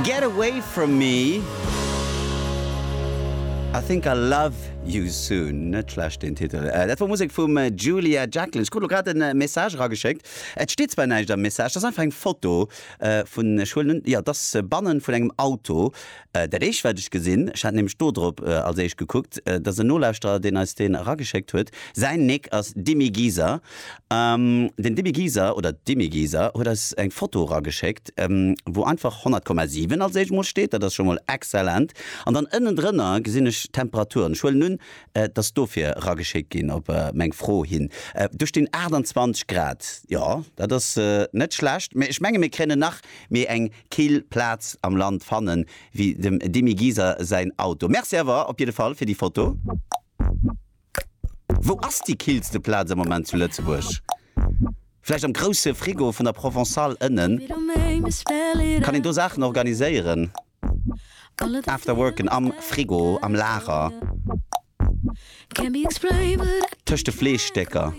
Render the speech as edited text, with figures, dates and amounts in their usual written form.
Get away from me, I think I'll love you soon. Net schlecht deen Titel. Dat wor Musek vum Julia Jacklin. Ech krut lo grad en Message erageschéckt. Et steet zwar näischt am Message, dat ass einfach eng Foto vun, ech huelen un, jo, et ass bannen vun engem Auto. Dat éischt wat ech gesinn, ech hat nämlech do drop als éischt gekuckt, dat ass en Nolauschterer deen eis deen erageschéckt huet. Säin Nick ass Dimi Giser. Den Dimi Giser oder d'Dimi Giser huet eis eng Foto erageschéckt, wou einfach 100,7 als éischt mol steet, dat ass scho mol exzellent. An dann ënnendrënner gesinn ech d'Temperaturen. Ech huelen un, et ass dofir erageschéckt ginn op meng Fro hin. Do stinn 28 Grad. Jo, dat ass net schlecht, mee ech menge mir kréinen nach méi eng kill Plaz am Land fannen wéi dem Dimi Giser säin Auto. Merci awer op jidde Fall fir déi Foto. Wou ass déi killste Plaz am Moment zu Lëtzebuerg? Vläicht am grousse Frigo vun der Provençale ënnen? Kann een do Saachen organiséieren? Afterworken am Frigo, am Lager, tëscht de Fleeschstécker.